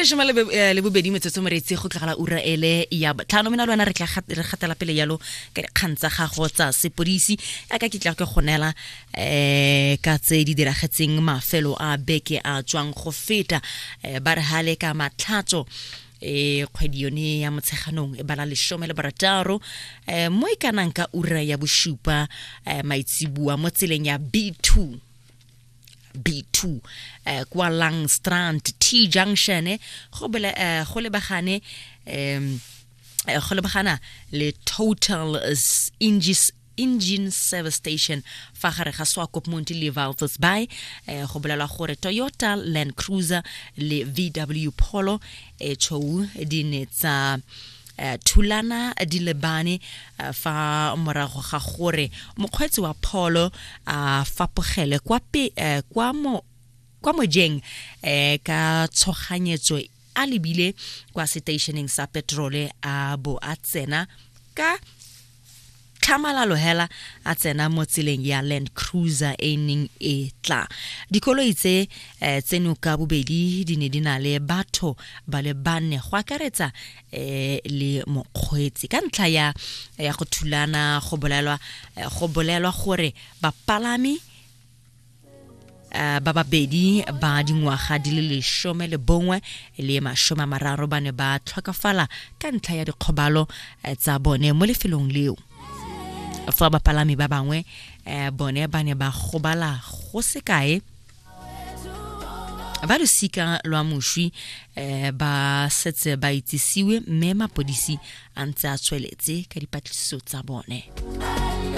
Leshome le bobedi metsotso, moreetsi, go tlogela ura ele ya botlhano. Mena le wena re tla re gatela pele yalo ka dikgang tsa gago tsa sepodisi, yaka ke tla ke go neela ka tse di diragetseng mafelo a beke a tswang go feta. Ba re hale ka Matlhatso, kgwedi yone ya Motsheganong e bala 16, mo e kanang ka ura ya bosupa maitsibua, mo tseleng ya B2 B2 kwa Langstrand T Junction, go lebagane go lebagana le Total Engine Service Station fa gare ga Swakopmund le Walvis Bay. Go bolelwa gore Toyota Land Cruiser le VW Polo e tshweu di ne tsa thulana di lebane, fa morago ga gore mokgweetsi wa Polo a fapogele kwa mojeng ka tshoganyetso a lebile kwa seteišeneng sa petrole, a bo a tsena ka tlhamalalo hela, a tsena mo tseleng ya Land Cruiser e neng e tla. Dikoloi tse tseno ka bobedi di ne di na le batho ba le bane, go akaretsa le mokgweetsi. Ka ntlha ya go thulana, go bolelwa gore bapalami ba babedi ba dingwaga di le 11 le 30 ba ne ba tlhokafala ka ntlha ya dikgobalo tsa bone mo lefelong leo, fa bapalami ba bangwe bone ba ne ba gobala go sekae. Ba losika lwa moswi ba setse ba itsisiwe, mme mapodisi a ntse a tsweletse ka dipatlisiso tsa bone.